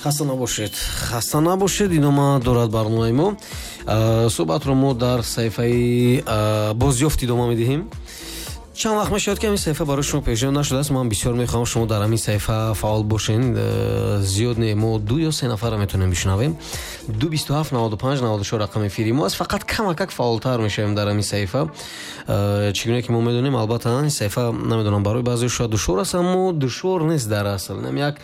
Хаста набошед, хаста набошед. Идома дорад барномаи мо. Суҳбатро мо дар саҳифаи бозёфт идома медиҳем. Чанд вақт мешавад, ки ҳамин саҳифа барои шумо пешниҳод нашудааст. Ман бисёр мехоҳам, шумо дар ҳамин саҳифа фаъол бошен. Зиёд не, мо ду ё се нафарро метавонем бишунавем. 2 27 95 94 рақами эфири мо аст. Фақат камакак фаъолтар мешавем дар ҳамин саҳифа. Чӣ гуна ки мо медонем, албатта, ин саҳифа, намедонам, барои баъзео шояд душвор аст, аммо душвор нест дар асл. Инам як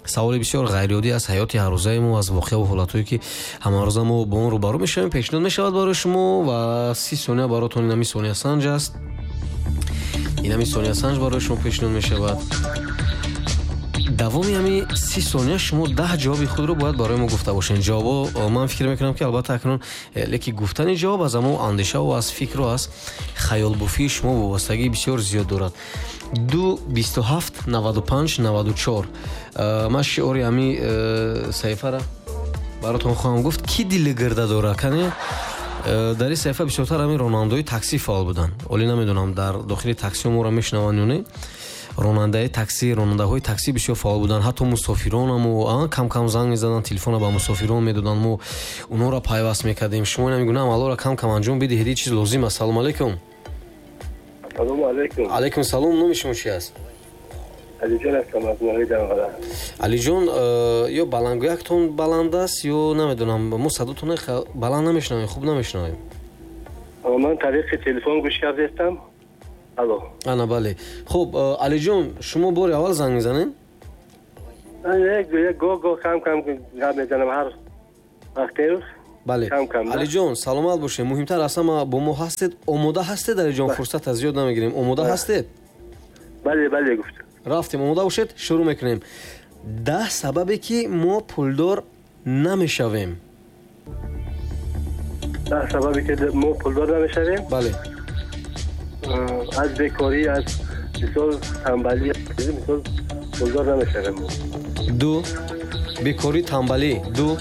саволи бисёр ғайриоддӣ аз ҳаёти ҳаррӯзаи мо, аз воқеаву ҳолатҳое, ки ҳамарӯза мо бо он рӯбарӯ мешавем, пешниҳод мешавад барои шумо ва 30 сония баротон. Инами сониясанҷ аст, инами сониясанҷ барои шумо пешниҳод мешавад. Давоми ҳами 30 сония шумо 10 ҷавоби худро бояд барои мо гуфта бошед. Ҷавобо, ман фикр мекунам, ки албатта акнун, лекин гуфтани ҷавоб аз ҳамо андешаву аз фикру аз хаёлбофии шумо вобастагии бисёр зиёд дорад. 2 27 95 94. Ман шиори ҳами саҳифара баротон хоҳам гуфт: «Кӣ дили гирда дора?» Кане, дар ин саҳифа бисёртар ҳамин ронандаҳои таксӣ фаъол буданд. Оле, намедонам, дар дохили таксиҳо моро мешунаванд ё не. Ронандаи таксӣ, ронандаҳои таксӣ бисёр фаъол буданд, ҳатто мусофиронаму кам кам занг мезаданд, телефона ба мусофирон медоданд, мо онҳоро пайваст мекардем. Шумо ин гуна амалҳоро кам кам анҷом бидиҳед, ин чиз лозим аст. Салому алайкум. Салому алайкум. Алайкум салом. Номи шумо чи аст? Алиҷон ҳастам аз ноҳияи Данғара. Алиҷон, ё баландгӯяктон баланд аст, ё намедонам, мо садотон баланд намешунавем, хуб намешунавем. Ман тариқи телефон гӯш кардастам. Алло. Ана, бале, хуб. Алиҷон, шумо бори аввал занг мезанед? Гоҳ гоҳ, кам кам гап мезанам, ҳар вақте. Бале, Алиҷон, саломат бошед. Муҳимтар аз ҳама, бо мо ҳастед, омода ҳастед, Алиҷон? Фурсат аз зиёд намегирем. Омода ҳастед? Бале, бале, гуфт. Рафтем, омода бошед, шурӯъ мекунем. 10 сабабе, ки мо пулдор намешавем. 10 сабабе, ки мо пулдор намешавем? Бале. Аз бекорӣ, аз мисол тамбалӣ, мисол, пулдор намешавем. Ду: бекорӣ, тамбалӣ, ду.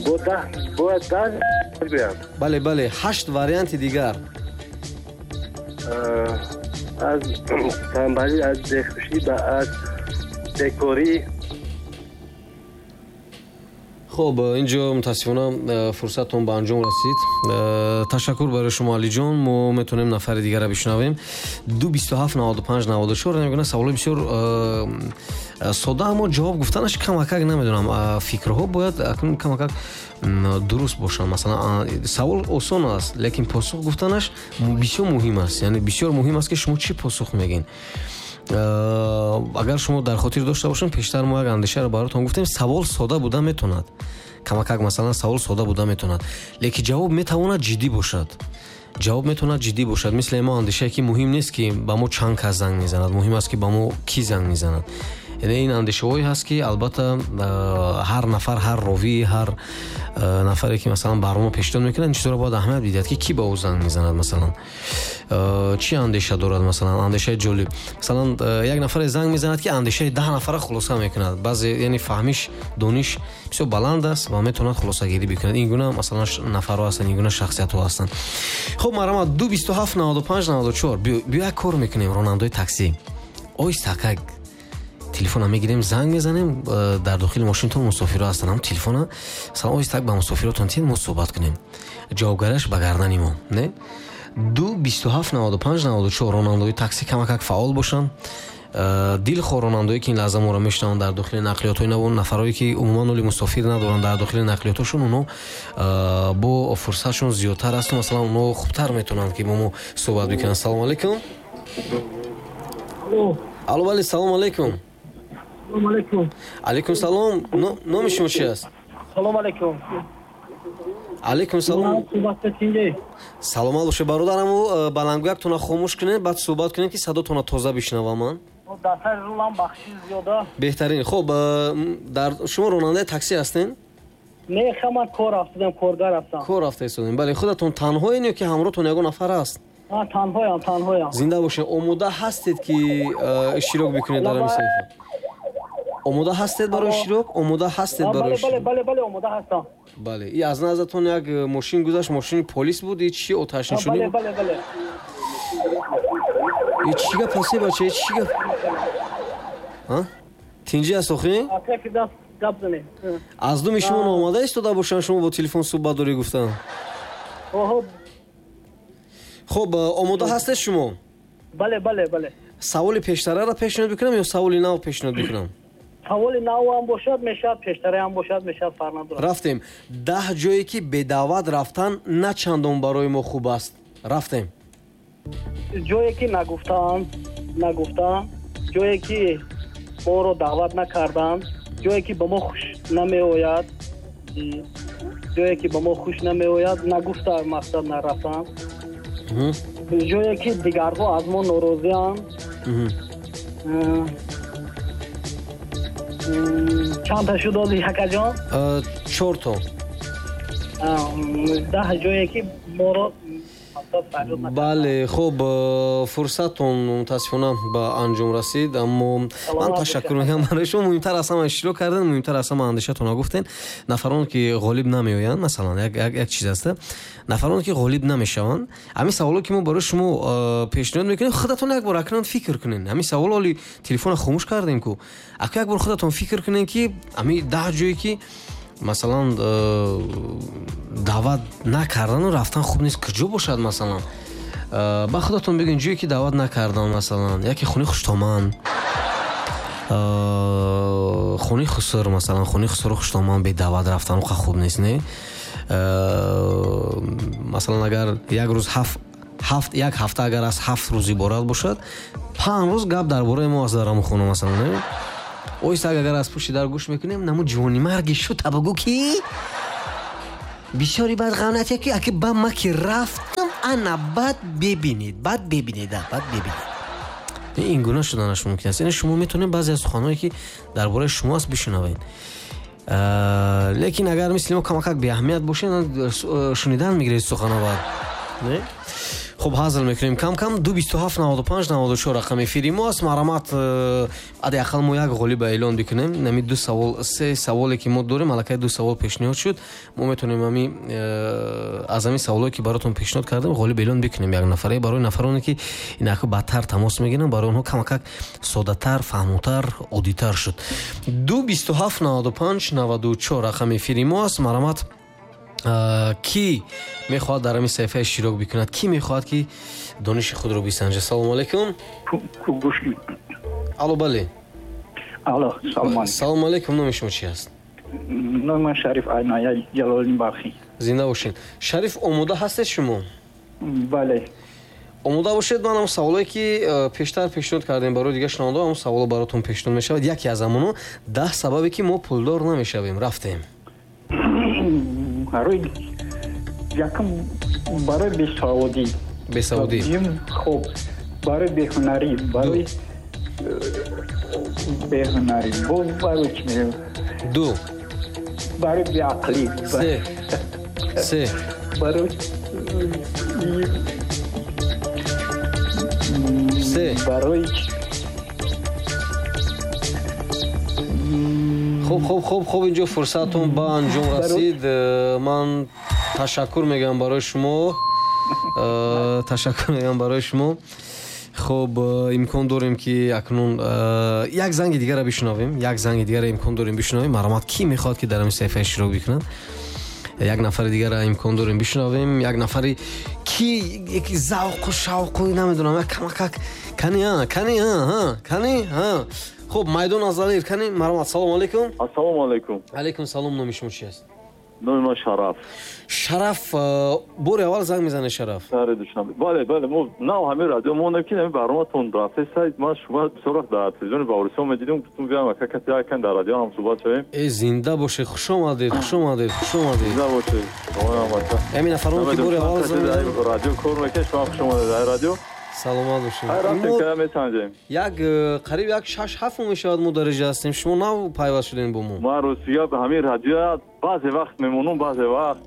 Бо 10, бояд 10 гӯям? Бале, бале, ҳашт варианти дигар. Аз тамбалӣ, аз бехушӣ, аз бекорӣ. Хуб, инҷо, мутаассифона, фурсаттон ба анҷом расид. Ташаккур барои шумо, Алиҷон. Мо метавонем нафари дигарро бишунавем. 2 27 95 94. Намегӯна, саволои бисёр сода, аммо ҷавоб гуфтанаш камакак, намедонам, фикрҳо бояд акнун камакак дуруст бошанд. Масалан, савол осон аст, лекин посух гуфтанаш бисёр муҳим аст, яъне бисёр муҳим аст, ки шумо чӣ посух мегӯед. Агар шумо дар хотир дошта бошем, пештар мо як андешаро баротон гуфтем: савол сода буда метавонад, камакак, масалан, савол сода буда метавонад, лекин ҷавоб метавонад ҷиддӣ бошад, ҷавоб метавонад ҷиддӣ бошад. Мисли мо андешае, ки муҳим нест, ки ба мо чанд кас занг мезанад, муҳим аст, ки ба мо кӣ занг мезанад. Яъне ин андешаҳое ҳаст, ки албатта ҳар нафар, ҳар ровӣ, ҳар нафаре, ки масалан барнома пешниҳод мекунад, ин чизҳоро бояд аҳамият бидиҳад, ки кӣ ба ӯ занг мезанад, масалан, чӣ андеша дорад. Масалан, андешаи ҷолиб, масалан, як нафаре занг мезанад, ки андешаи 10 нафара хулоса мекунад. Баъзе, яъне, фаҳмиш, дониш бисёр баланд аст ва метавонад хулосагирӣ бикунад. Ин гуна, масалан, нафарҳо ҳастанд, ин гуна шахсиятҳо ҳастанд. Хуб, марҳамат, 2 27 95 94. Биё, як кор мекунем: ронандаои таксӣ, оҳистакак телефона мегирем, занг мезанем. Дар дохили мошинтон мусофирҳо ҳастанд, ҳам телефона, масалан, оҳистак ба мусофиротон тиҳед, мо суҳбат кунем, ҷавобгараш ба гардани мо не. 2 27 95 94. Ронандаои таксӣ камакак фаъол бошанд. Дилхоҳ ронандаое, ки ин лаҳза моро мешунаванд дар дохили нақлиётҳои нав, нафарое, ки умуман оли мусофир надоранд дар дохили нақлиётҳошон, онҳо бо фурсатшон зиёдтар аст, масалан, онҳо хубтар метавонанд, ки бо мо суҳбат бикунанд. Салому алайкум. Алло, бале, салому алайкум. Алайкум салом. Номи шумо чи аст? Салому алайкум. Алайкум салом, саломат бошед, бародараму. Баландгӯяктона хомӯш кунед, баъд суҳбат кунед, ки садотона тоза бишнавам ман. Беҳтарин. Хуб, дар шумо ронандаи таксӣ ҳастед? Не, ман кор рафтадам, коргар ҳастам. Кор рафта истодем, бале. Худатон танҳоен ё ки ҳамроҳтон ягон нафар аст? Танҳоям, танҳоям. Зинда бошед. Омода ҳастед, ки иштирок бикунед дар ҳамин саҳифа? Омода ҳастед барои иштирок? Омода ҳастед барои? Бале, бале, омода ҳастам. Бале. И аз назартон як мошин гузашт, мошини полис буд? И чи оташнишонӣ? Бале, бале. И чӣ гап аст, бача, чӣ гап? Тинҷӣ аст охи? Гап занем. Аз думи шумо наомада истода бошанд, шумо бо телефон суҳбат дорӣ гуфтан. Оҳо. Хуб, омода ҳастед шумо? Бале, бале, бале. Саволи пештараро пешниҳод бикунам ё саволи нав пешниҳод бикунам? Саволи нав ҳам бошад, мешавад, пештара ҳам бошад, мешавад, фарқ надорад. Рафтем. 10 ҷое ки бедаъват рафтан на чандон барои мо хуб аст. Рафтем. Ҷое ки нагуфтаанд, ҷое ки моро даъват накарданд, ҷое ки ба мо хуш намеояд, ҷое ки ба мо хуш намеояд, нагуфта мақсад нарафтанд, ҷое ки дигарҳо аз мо норозианд. Чанд та шуд ози ҳакаҷон? 4 то. 10 ҷое ки моро. Бале, хуб, фурсаттон мутаассифона ба анҷом расид, аммо ман ташаккур мекунам барои шумо. Муҳимтар аз ҳама иштирок кардан, муҳимтар аз ҳама андешатонро гуфтен. Нафароне ки ғолиб намеоянд, масалан, як чиз аст, нафароне ки ғолиб намешаванд, ҳамин саволо ки мо барои шумо пешниҳод мекунем, худатон як бор акнун фикр кунед. Ҳамин савол ҳоли телефонро хомӯш кардем ку, аку як бор худатон фикр кунед ки ҳамин 10 ҷое ки масалан даъват накардану рафтан хуб нест, куҷо бошад? Масалан, ба худатон бигӯед ҷое ки даъват накардан, масалан, яке хонаи хуштоман, хонаи хусур, масалан, хонаи хусуру хуштоман бе даъват рафтан оқа хуб нест, не? Масалан, агар як рӯз як ҳафта агар аз 7 рӯз иборат бошад, 5 рӯз гап дар бораи мо аст дар ҳамон хона, масалан, не? Оҳиста агар аз пушти дар гӯш мекунем, наму ҷавони марги шуд, табагӯ ки бисёри бад ғамнат ки аки ба ма ки рафтам, ана бад бебинед, бад бебинед, бад бебинед. Ин гуна шуданаш мумкин аст. Яъне шумо метавонед баъзе аз суханҳое ки дар бораи шумо аст бишунавед. Лекин агар мисли мо камакак беаҳамият бошед, шунидан мегиред суханҳо баъд. Не? Хуб, ҳазл мекунем кам-кам. 227 95 94 рақами эфири мо аст. Марҳамат, ади ақал мо як ғолиба эълон бикунем. Нами 2 савол, 3 саволе ки мо дорем, аллакай 2 савол пешниҳод шуд. Мо метавонем ҳами аз ҳамин саволое ки баротон пешниҳод кардем ғолиб эълон бикунем як нафаре. Барои нафароне ки инако бадтар тамос мегиранд, барои онҳо камакак соддатар, фаҳмотар, оддитар шуд. 227 95 94 рақами эфири мо аст. Марҳамат, ки мехоҳад дар ҳамин саҳифа иштирок бикунад, ки мехоҳад ки дониши худро бисанҷад. Салому алайкум. Алло, бале. Алло, салому алайкум. Салому алайкум. Номи шумо чи аст? Номи ман Шариф Айная Ҷалолиддин Балхӣ. Зинда бошед. Шариф, омода ҳастед шумо? Бале. Омода бошед. Ман ҳам саволое ки пештар пешниҳод кардем барои дигар шунавандаҳо, ҳамон саволо баротон пешниҳод мешавад. Яке аз ҳамоно 10 сабабе ки мо пулдор намешавем. Рафтем. Барои якум, барои бесаводӣ. Бесаводӣ. Хуб, барои беҳунарӣ, барои беҳунарӣ, боз барои чӣ мегӯям? 2. Барои беақлӣ. 3. 3. Барои 3. Барои хуб, хуб, хуб, хуб, инҷо фурсатон ба анҷом расид. Ман ташаккур мегӯям барои шумо. Ташаккур мегӯям барои шумо. Хуб, имкон дорем ки акнун як занги дигарро бишунавем. Як занги дигарро имкон дорем бишунавем. Марҳамат, ки мехоҳад ки дар ҳамин саҳифа иштирок бикунад? Як нафари дигарро имкон дорем бишунавем. Як нафари ки яки завқу шавқу намедонам, як камакак кани, кани, кани, хуб, майдон аз Далер, кани, марҳамат. Салому алайкум. Ассалому алайкум. Алайкум салом. Номи шумо чи аст? Номи ман Шараф. Шараф, бори аввал занг мезанед, Шараф? Шаҳри Душанбе. Бале, бале, мо нав ҳамин радио мондем ки ҳамин барноматон рафта сайт. Ман шумо бисёр вақт дар телевизиони Баҳористон медидем, гуфтум биём ака кати якан дар радио ҳам суҳбат шавем. Э, зинда бошед, хуш омадед, хуш омадед, хуш омадед. Зинда бошед. Ҳамин нафароне ки бори аввал занг мезанед радио кор мекунед, шумо хуш омадед дар радио. Саломат бошед. Як қариб як 6-7 моҳ мешавад мо дар инҷо ҳастем. Шумо нав пайваст шудем бо мо. Ман ростига ба ҳамин радио баъзе вақт мемонам, баъзе вақт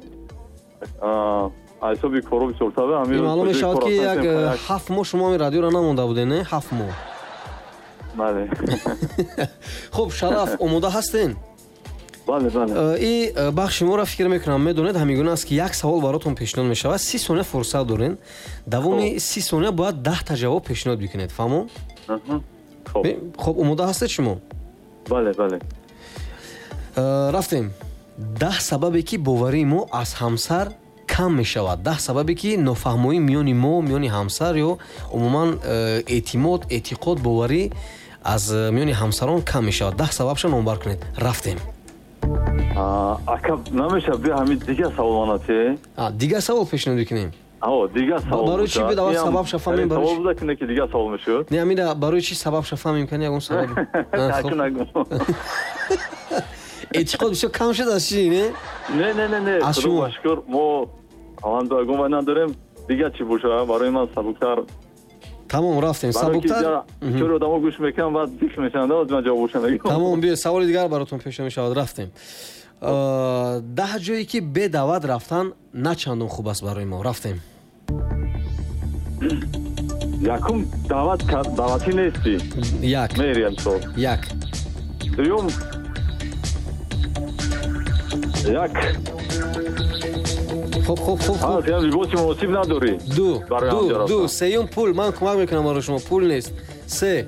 ҳисоби коро бисёртар. Ин маълум мешавад ки як 7 моҳ шумо ҳамин радиоро намонда будед, не? 7 моҳ. Бале. Хуб, Шараф, омода ҳастен? Бале, бале. И бахши моро фикр мекунам медонед, ҳамин гуна аст ки як савол баротон пешниҳод мешавад, 30 сония фурсат дорен. Давоми 30 сония бояд 10 та ҷавоб пешниҳод бикунед. Фаҳмо? Хуб. Хуб, омода ҳастед шумо? Бале, бале. Рафтем. 10 сабабе ки боварии мо аз ҳамсар кам мешавад. 10 сабабе ки нофаҳмоӣ миёни мо, миёни ҳамсар ё умуман эътимод, эътиқод, боварӣ аз миёни ҳамсарон кам мешавад. 10 сабабша номбар кунед. Рафтем. Ака, намешавад биё ҳамин дигар савол манате? Дигар савол пешниҳод мекунем. Дигар савол. Барои чӣ бид аввал сабабша фаҳмем? Барои савол буда ки дигар савол мешуд? Не, амира барои чӣ сабабша фаҳмем? Кани ягон сабаб. Эътиқод бисёр кам шуд аз чӣ, не? Не, не, не, не. Аз шумо. Шукр, мо алҳамдулиллоҳ гум надорем. Дигар чӣ бошад? Барои ман сабуктар. Тамом, рафтем. Сабуктар. Чор одамо гӯш мекунам, баъд зикр мешаванд, ман ҷавобашро мегӯям. Тамом, биё саволи дигар баротон пешниҳод мешавад. Рафтем. 10 ҷое ки бе даъват рафтан на чандон хуб аст барои мо. Рафтем. Якум, даъват даъватӣ нестӣ. Як. Мериям сол. Як. Дуюм, як. Хуб, хуб, хуб, хуб. Ҳа, либоси муносиб надорӣ. Ду, ду, ду. Сеюм, пул. Ман кӯмак мекунам барои шумо. Пул нест. Се.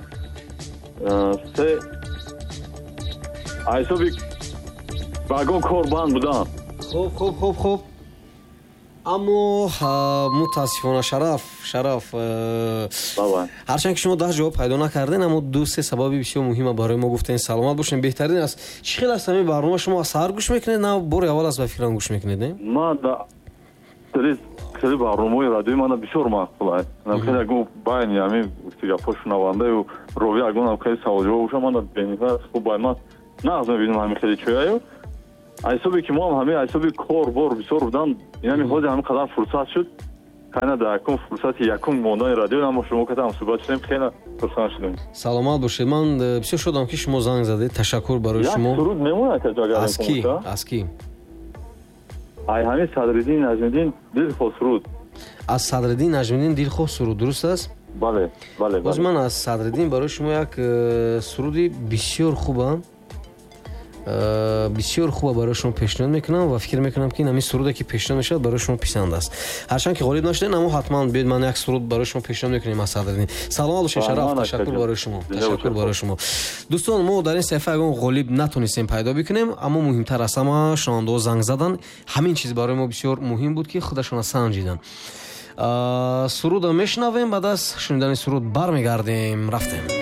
Се. Ҳисоби вагон кор банд будан. Хуб, хуб, хуб, хуб. Аммо мутаассифона Шараф, Шараф, ҳарчанд ки шумо 10 ҷавоб пайдо накарден, аммо 2-3 сабаби бисёр муҳима барои мо гуфтен. Саломат бошед, беҳтарин аст. Чӣ хел аст ҳамин барнома? Шумо аз саҳар гӯш мекунед, на бори аввал аст ба фикрам гӯш мекунед, не? Ман хеле барномаҳои радиои мана бисёр маъқул аст. Хеле ягон байни ҳамин гапҳо шунавандаю ровӣ ягон хеле саволҷавоб бошад, мана бениҳоят хуб бай. Ман нағз мебинам ҳамин хеле чояю. Ҳисоби ки мо ҳам ҳамин ҳисоби кор бор бисёр будан, инами ҳозир ҳамин қадар фурсат шуд. Хайна дар якум фурсати якум мондани радио намо шумо ката ҳам суҳбат шудем, хеле хурсанд шудем. Саломат бошед. Ман бисёр шодам ки шумо занг задед. Ташаккур барои шумо. Як суруд мемонад агар аз ки? Аз ки? Ай ҳамин Садриддин Наҷмиддин дилхоҳ суруд. Аз Садриддин Наҷмиддин дилхоҳ суруд, дуруст аст? Бале, бале. Боз ман аз Садриддин барои шумо як суруди бисёр хубам, бисёр хуба барои шумо пешниҳод мекунам ва фикр мекунам ки ин ҳамин суруде ки пешниҳод мешавад барои шумо писанд аст. Ҳарчанд ки ғолиб нашудед, аммо ҳатман биёед ман як суруд барои шумо пешниҳод мекунем аз Садриддин. Саломат бошед Шараф, ташаккур барои шумо. Ташаккур барои шумо. Дӯстон, мо дар ин саҳифа ягон ғолиб натонистем пайдо бикунем, аммо муҳимтар аз ҳама шунавандаҳо занг задан. Ҳамин чиз барои мо бисёр муҳим буд ки худашона санҷидан. Сурудро мешунавем, баъд аз шунидани суруд бармегардем. Рафтем.